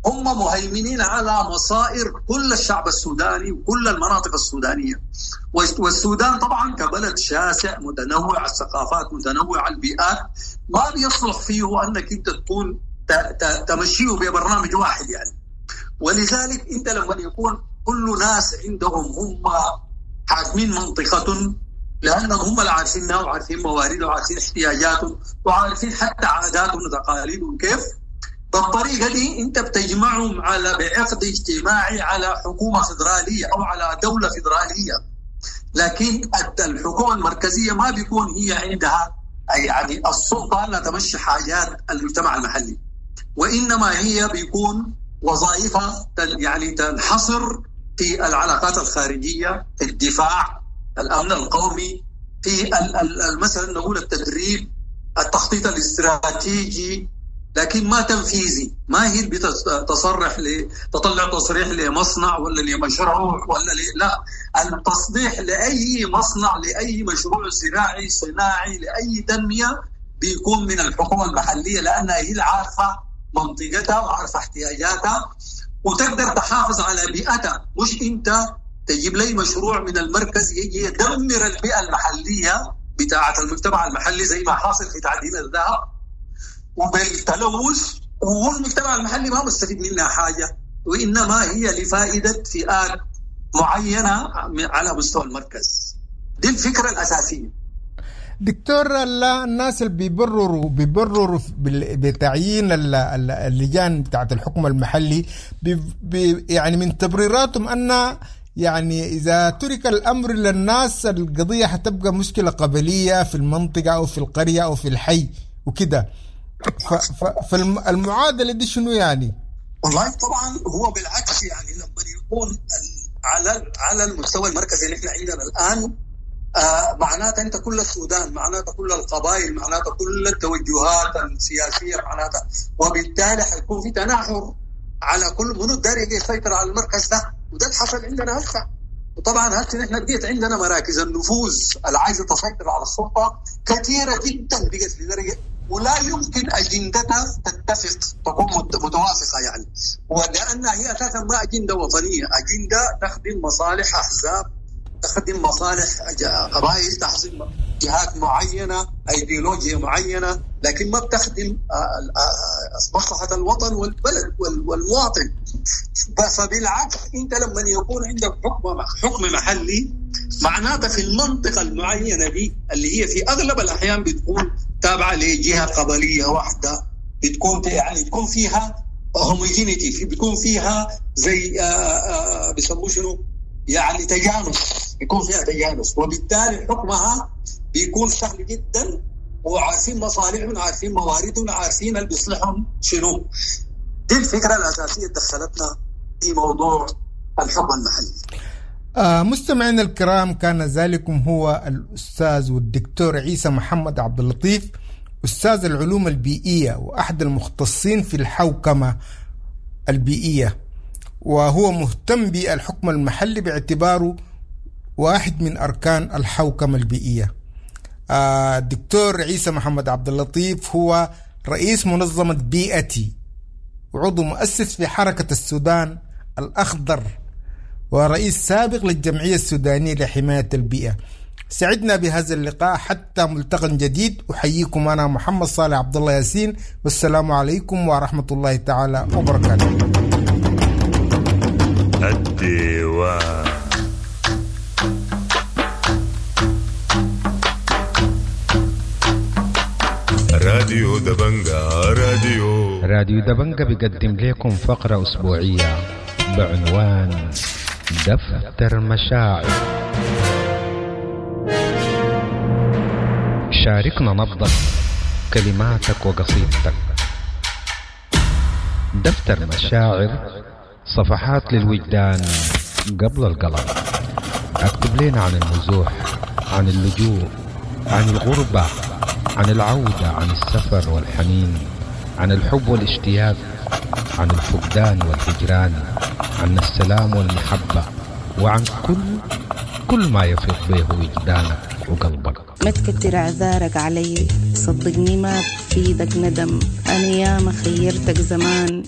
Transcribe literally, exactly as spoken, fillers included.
هم مهيمنين على مصائر كل الشعب السوداني وكل المناطق السودانية. والسودان طبعا كبلد شاسع متنوع الثقافات متنوع البيئات، ما بيصلح فيه أنك أنت تكون تمشيه ببرنامج واحد يعني. ولذلك أنت لما يكون كل ناس عندهم هم حاكمين منطقة، لأنهم هم اللي عارفينها وعارفين مواردها وعارفين احتياجاتهم وعارفين حتى عاداتهم وتقاليدهم كيف، بالطريقة دي أنت بتجمعهم على بعقد اجتماعي على حكومة فدرالية أو على دولة فدرالية. لكن الحكومة المركزية ما بيكون هي عندها يعني السلطة أنها تمشي حاجات المجتمع المحلي، وإنما هي بيكون وظائفها يعني تنحصر في العلاقات الخارجية، في الدفاع، الأمن القومي، في مثلا نقول التدريب، التخطيط الاستراتيجي، لكن ما تنفيذي. ما هي بتصرح ل تطلع تصريح لمصنع ولا لمشروع ولا ل... لا، التصريح لأي مصنع لأي مشروع زراعي صناعي لأي تنمية بيكون من الحكومة المحلية، لأنها هي عارفة منطقتها وعارفة احتياجاتها وتقدر تحافظ على بيئتها. مش أنت تجيب لي مشروع من المركز يجي يدمر البيئة المحلية بتاعة المجتمع المحلي زي ما حاصل في تعدين الذهب وبالتلوث، والمجتمع المحلي ما مستفيد منها حاجة، وإنما هي لفائدة فئات معينة على مستوى المركز. دي الفكرة الأساسية. دكتور، الناس اللي بيبرروا بيبرروا بتعيين اللجان بتاعت الحكم المحلي بي بي يعني من تبريراتهم أن يعني إذا ترك الأمر للناس القضية حتبقى مشكلة قبلية في المنطقة أو في القرية أو في الحي وكده. فالمعادلة دي شنو يعني؟ والله طبعا هو بالعكس، يعني لما يكون على على المستوى المركزي اللي احنا عندنا الآن، آه معناته أنت كل السودان، معناته كل القبائل، معناته كل التوجهات السياسية، معناته وبالتالي حيكون في تناحر على كل منو داري يسيطر على المركز ده، وده اللي حصل عندنا هسه. وطبعا هسه نحن بقيت عندنا مراكز النفوذ اللي عايزه تسيطر على السلطة كثيرة جدا، بقت لدرجة ولا يمكن اجندتها تتفق تكون متوافقة يعني، ولانها هي اساسا ما اجندة وطنية، اجندة تخدم مصالح احزاب، تخدم مصالح قبائل، تخدم جهات معينة، ايديولوجيا معينة، لكن ما بتخدم مصلحة الوطن والبلد والمواطن. فبالعكس انت لما يكون عندك حكم حكم محلي، معناته في المنطقة المعينة دي اللي هي في اغلب الاحيان بتكون تابعه لجهة قبليه واحدة، بتكون يعني تكون فيها هوموجينيتي، بيكون فيها زي بيسموه شنو يعني تجانس، بيكون فيها تجانس، وبالتالي حكمها بيكون سهل جدا، وعارفين مصالحهم، عارفين مواردهم، عارفين اللي بيصلحهم شنو. دي الفكرة الأساسية دخلتنا في موضوع الحكم المحلي. آه مستمعينا الكرام، كان ذلكم هو الأستاذ والدكتور عيسى محمد عبد اللطيف، أستاذ العلوم البيئية وأحد المختصين في الحوكمة البيئية، وهو مهتم بالحكم المحلي باعتباره واحد من أركان الحوكمة البيئية. الدكتور عيسى محمد عبد اللطيف هو رئيس منظمة بيئتي وعضو مؤسس في حركة السودان الأخضر ورئيس سابق للجمعية السودانية لحماية البيئة. سعدنا بهذا اللقاء حتى ملتقى جديد. أحييكم أنا محمد صالح عبد الله ياسين، والسلام عليكم ورحمة الله تعالى وبركاته. الديوان راديو دبنجا، راديو راديو دبنجا بيقدم لكم فقرة أسبوعية بعنوان دفتر مشاعر. شاركنا نبضك، كلماتك وقصيدتك. دفتر مشاعر، صفحات للوجدان قبل القلم. اكتب لنا عن النزوح، عن اللجوء، عن الغربة، عن العودة، عن السفر والحنين، عن الحب والاشتياق، عن الفقدان والهجران، عن السلام والمحبة، وعن كل كل ما يفيض به وجدانك وقلبك. ما تكتر اعذارك علي، صدقني ما بفيدك ندم، انا ياما خيرتك زمان